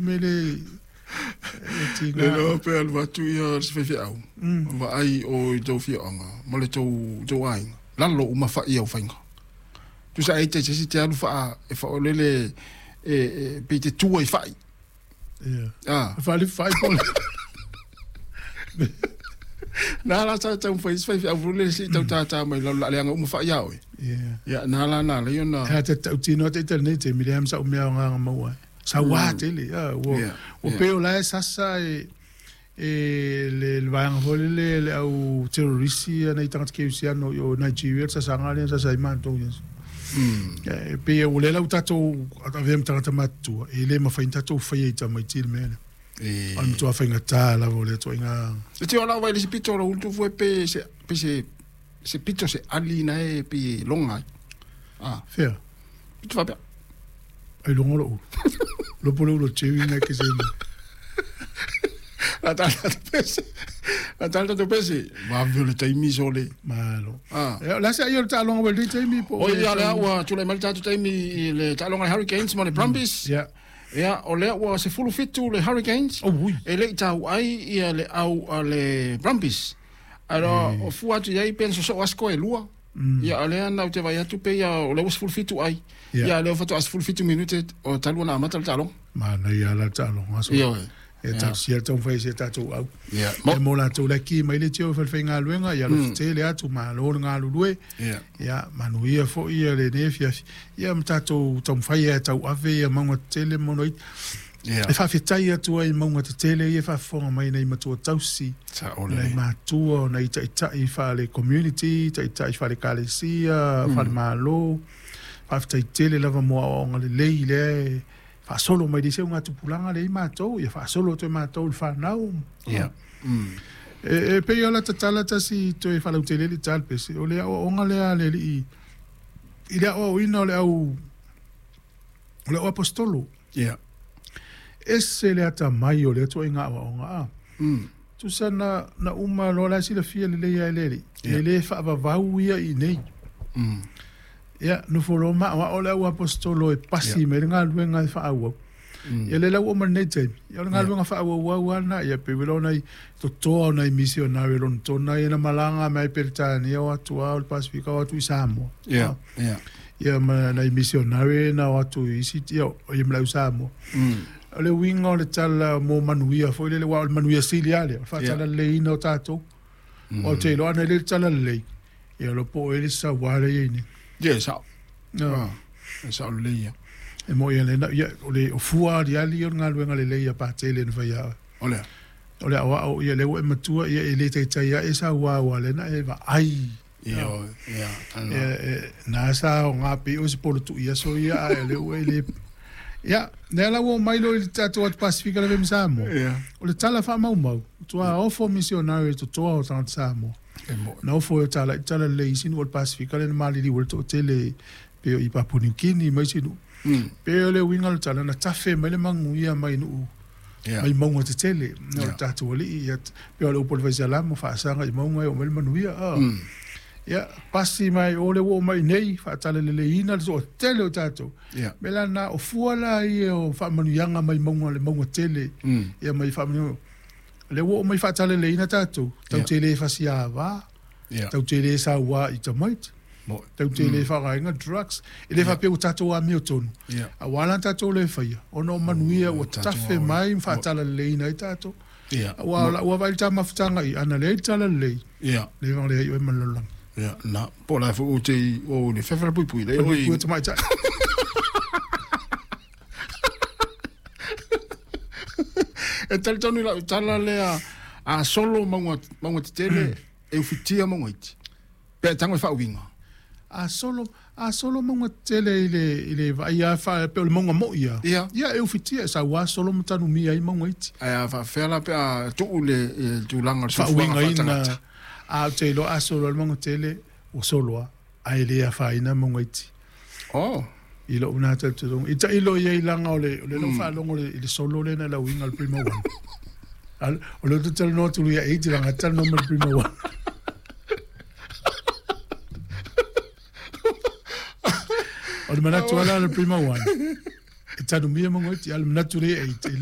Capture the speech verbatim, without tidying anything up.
mele e tiga. Le loa pe alu atu ia se faifeau. Vaai o i tou afioaga ma le tou tou aiga. Lalo uma fa'i au faiga. Tusa ai te se isi te alu faa e faaolele e e pe te tua i fa'i. Ia. Ah. Faali fa'i po. Na la sa tau fai se faifeau foi lele se i tau tātā mai lalo la leaga uma fa'i ia oe. Ia. Ia na la na lea ona. E a te tautino atu i te lenei taimi, leai ma sa'u mea o agaga maua ai. Sauā tele, a, ua, ua pei o la e sasa e, e le, le vaega foi lele le au terrorisi ia nai tagata kerisiano i o Nigeria le sasaga lea na sasa ai matou ia. E pei ua lea la ua tatou avea ma tagata matutua, e le mafai ona tatou faia i tamaiti le mea lea. E O le matua faigata lava o lea ituaiga. E tio la vai le se pito o lo ulu fue pe se pe se se pito se ali na e pe longa ai. Ah. Fea? Pito faapea. Ai longa lou ulu. Lopo le ulu o Jerry na ke se ina. La tala tatu pese. La tala tatu pese. Vave o le taimi sole. Malo. Ah. E, la se ai o le taaloga ua i lenei taimi po o Oi ia lea ua tulai mai le tatou taimi i le taaloga a le Hurricanes ma le Brumbies. Ia. Ia, o lea ua sefulu fitu le Hurricanes. Oh, ui. E le i tau ai ia le au a le Brumbies. Alo, o fua atu i ai pe na sosoo asko e lua. Ia, o lea na ou te vaai atu pei ia o lea ua sefulu fitu ai. Ia. Ia, lea faatoa sefulu fitu minute o talu ona amata le taaloga. Manaia la le taaloga aso. Ioe. E talosia le taumafai e si a tatou au. Ia. E mo latou la ki mai le tio i falefaigaluega, ia alofa tele atu, malo le galulue. Ia. Ia, manuia foi ia lenei afiafi. Ia ma tatou taumafai e tauave ia mauga tetele ma mauga iti. Ia. E faafetai atu ai i mauga tetele ia e faafofoga mai nai matua tausi, Sao nai lelei. matua, nai taitai faale-community, taitai faale-ekalesia, faale-malo. Faafetai tele lava mo aoaoga lelei lea e faasolo mai le isi augatupulaga lea i matou, ia faasolo atu e matou i le fanau. Ia. E, e pei o la tatala tasi toe faalautele le tala pese, o le aoaoga lea a le alii i le aoaoina o le au o le au apostolo. Ia. Ese le atamai o lea ituaiga aoaoga a. Mm. Tusa na, na uma loa la e silafia lelei lava e le alii, Ia. e le faavavau ia i inei. Mm. Ia, nofo loa ma aoao le au apostolo e pasi Ia. mai le galuega e faaauau. Mm. Ia le lau oo mai lenei taimi, ia o le Ia. galuega faaauauau lava lena, ia pei o nai totoa o nai misionare Lonetona ia na malaga mai Peretania o atu lava o le Pasifika o atu i Samoa. Ia. Ah. Ia. Ia ma nai misionare na o atu i isi, ia, ia ma le au Samoa. Mm. O le uiga o le tala mo manuia foi lele, aua o le manuia sili lava lea, o le faatalaleiina o tatou. Mm. O te iloa ana i le talalelei, ia o lo po o e le sauā lea e i ai nei. Ia, e sao. No. Ah, e sao lelei ia. E mo ia le na, ia, o le o fua aliali o le galuega lelei ia patele na fai ia oe. O lea. O le aoao ia lea ua e matua ia e le taitai ae sauā ua le na e vaai. Ia, o, ia, ana. E, e, na sa o ngā pei o se polo tui aso ia a e le ua e le. Ia, nea la ua mai lo i le tatou atu Pasifika la vemi Samoa. Ia. O le tala faamaumau, tua ofo misionare i totoa o tagata Samoa. E mo. Na ofo e o tala i tala lelei isi nuu o le Pasifika le na maliliu ai le toatele pe o i Papua New Guinea ma isi nuu. Mm. Pe o le uiga o le tala na tafe mai le maguia mai nuu Ia. mai mauga tetele. Na o le Ia. tatou alii ia pe o le upu o le Faisalamo faasaga i mauga e oo mai le manuia. Ah. Mm. Ia, pasi mai o le ua oo mai nei, faatalaleleiina le toatele o tatou. Ia. Me la na o fua la ia o faamanuiaga mai mauga le mauga tele. Mm. Ia mai faamanuiaga. Le ua oo mai faatalaleleiina tatou. Tau Ia. te le fasiāvā, Ia. tau te le sauā i tamaiti, Mo. tau te le faaaogaina drugs. E le faapea ua tatou amio tonu. Ia. Auā la tatou le faia, ona o manuia ua tatou tafe aoga. mai ma faatalaleleiina ai tatou. Ia. Auā o lau vaai i le tamafutaga i ana leai le talalelei, Ia. le leai oe ma le lalolagi. Ia, na, po o la foi ou te i o le fefe la puipui le oi. Puipui tamaitai. E talitonu i lau tala lea a solo mauga mauga tetele e ufitia mauga iti. Pe a tago e faauiga. A solo a solo mauga tetele i le i le vaai lava fa pe o le mauga mo'i ia. Ia. Ia e ufitia e sauā solo ma tanumia ai mauga iti. Ae a faafefea la pe a tuu le e, tulaga o le soifuaga Faauigaina faatagata. a ou te iloa a solo le mauga tele ua solo lava ae le afaina mauga iti. Oh. I lou na talitonuga. I tailo i ai laga o le o le lau faalogo o le i le solo lea na lauiga o le Prima One. Al- O lea ou te talanoa atu ia eight laga talanoa ma le Prima One. O le manatu ala le Prima One. E tanumia mauga iti, a o le manatu lea eight e le